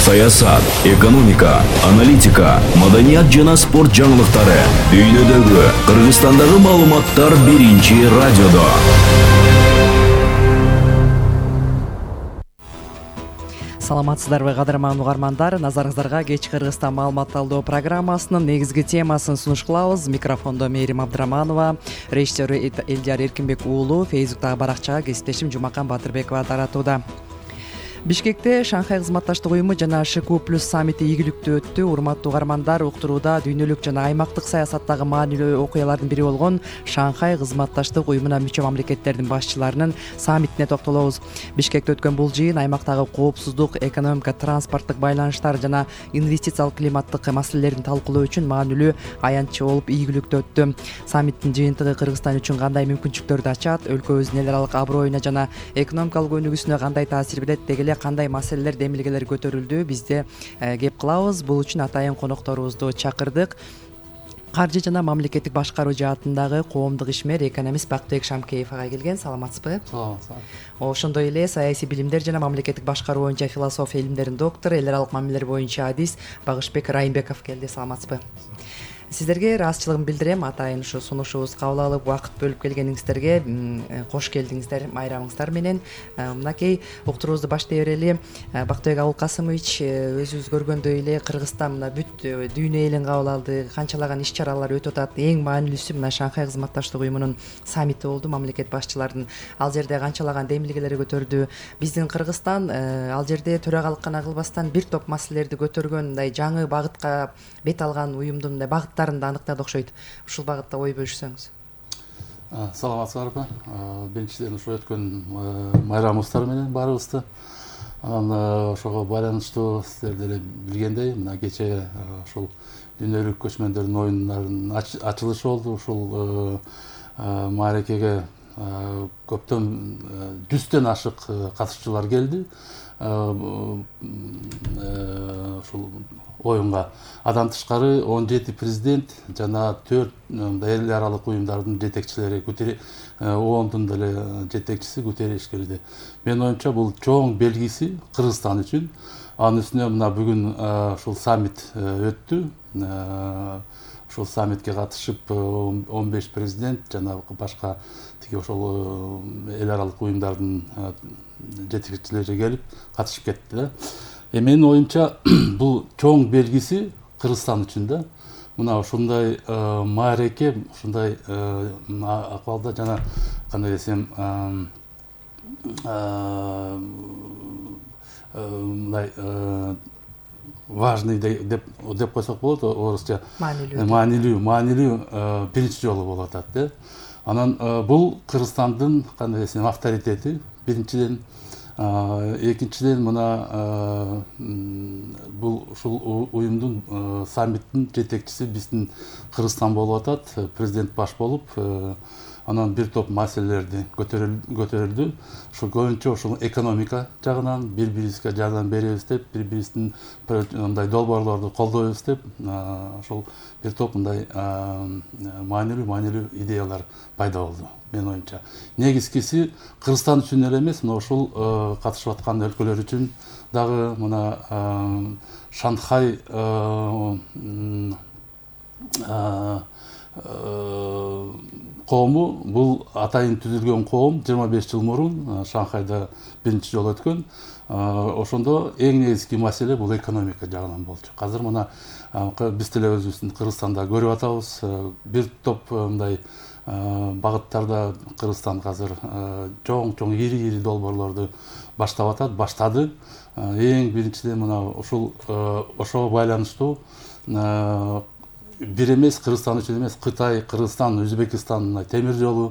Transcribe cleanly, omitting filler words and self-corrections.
саясат, экономика, аналитика, маданият жана спорт жаңылыктары, дүйнөдөгү, Кыргызстандагы маалыматтар биринчи радиодо. Саламатсыздарбы кадырман угармандар, назарыңыздарга кеч Кыргызстан маалымат талдоо программасынын негизги темасын сунуш кылабыз. Микрофондо Мээрим Абдыраманова, режиссер Элдияр Эркинбек уулу, Фейсбуктагы баракчага кесиптешим Жумакан Батырбекова таратууда. Бишкекте Шанхай кызматташтык уюму жана ШКУ+ саммити ийгиликтүү өттү. Урматтуу угармандар, уктурууда дүйнөлүк жана аймактык саясаттагы маанилүү окуялардын бири болгон Шанхай кызматташтык уюмуна мүчө мамлекеттердин башчыларынын саммитине токтолобуз. Бишкекте өткөн бул жыйын аймактагы коопсуздук, экономика, транспорттук байланыштар жана инвестициялык климаттык маселелерин талкуулоо үчүн маанилүү аянтчы болуп ийгиликтүү өттү. Саммиттин жыйынтыгы Кыргызстан үчүн кандай мүмкүнчүлүктөрдү ачат, өлкөбүздүн эл аралык аброюна жана экономикалык өнүгүүсүнө кандай таасир берет, деги эле кандай маселелер, демилгелер көтөрүлдү, бизде кеп кылабыз. Бул үчүн атайын конокторубузду чакырдык. Каржы жана мамлекеттик башкаруу жаатындагы коомдук ишмер, экономист Бактыбек Шамкеев ага келген. Саламатсызбы? Саламатсыздар. Ошондой эле саясий билимдер жана мамлекеттик башкаруу боюнча философия илимдеринин доктору, эл аралык мамилелер боюнча адис Багышбек Райымбеков келди. Саламатсызбы? Сиздерге ыраазычылыгымды билдирем. Атайын ушу сунушубузду кабыл алып, убакыт бөлүп келгениңиздерге кош келдиңиздер майрамыңыздар менен. Мынакей уктуруубузду баштай берели. Бактыбек Абулкасымович, өзүбүз көргөндөй эле Кыргызстан мына бүт дүйнө элин кабыл алды. Канчалаган иш-чаралар өтүп атат. Эң маанилүүсү мына Шанхай кызматташтык уюмунун саммити болду, мамлекет башчыларынын. Ал жерде канчалаган демилгелер көтөрдү. Биздин Кыргызстан ал жерде төрагалык гана кылбастан бир топ маселелерди көтөргөн, мындай жаңы багытка бет алган уюмдун мындай багыттарын да аныктады окшойт. Ушул багытта ой бөлүшсөңүз. Саламатсыздарбы? Биринчиден ошо өткөн майрамыбыздар менен баарыбызды. Анан ошого байланыштуу сиздер деле билгендей, мына кечээ ушул дүйнөлүк көчмөндөрдүн оюндарынын ачылышы болду. Ушул мааракеге көптөн 100төн ашык катышуучулар келди. Ушул оюнга андан тышкары 17 президент жана 4 эл аралык уюмдардын жетекчилери, ООНдун деле жетекчиси Гутерриш келди. Менин оюмча бул чоң белгиси Кыргызстан үчүн. Анын үстүнө мына бүгүн ушул саммит өттү. Ушул саммитке катышып 15 президент жана башка ошол эл аралык уюмдардын жетекчилери келип катышып кетти да. Менин оюмча бул чоң белгиси Кыргызстан үчүн да. Мына ушундай маареке, ушундай акыбалда жана кандай десем, мындай важный деп койсок болот, орусча маанилүү биринчи жолу болуп атат да. Анан бул Кыргызстандын кандай десем авторитети биринчиден, экинчиден мына бул ушул уюмдун саммиттин жетекчиси биздин Кыргызстан болуп атат, президент баш болуп, анан бир топ маселелерди көтөрүлдү. Ушул көбүнчө ушул экономика жагынан бири-бирибизге жардам беребиз деп, бири-бирибиздин мындай долбоорлорду колдойбуз деп, ошол бир топ мындай маанилүү идеялар пайда болду менин оюмча. Негизгиси Кыргызстан үчүн эле эмес, мына ушул катышып аткан өлкөлөр үчүн дагы мына Шанхай коому, бул атайын түзүлгөн коом 25 жыл мурун Шанхайда биринчи жолу өткөн. Ошондо эң негизги маселе бул экономика жагынан болчу. Азыр мына биз деле өзүбүздүн Кыргызстанда көрүп атабыз, бир топ мындай багыттарда Кыргызстан азыр чоң ири долбоорлорду баштады. Эң биринчиден мына ошого байланыштуу бир эмес, Кыргызстан үчүн эмес, Кытай, Кыргызстан, Өзбекстан темир жолу,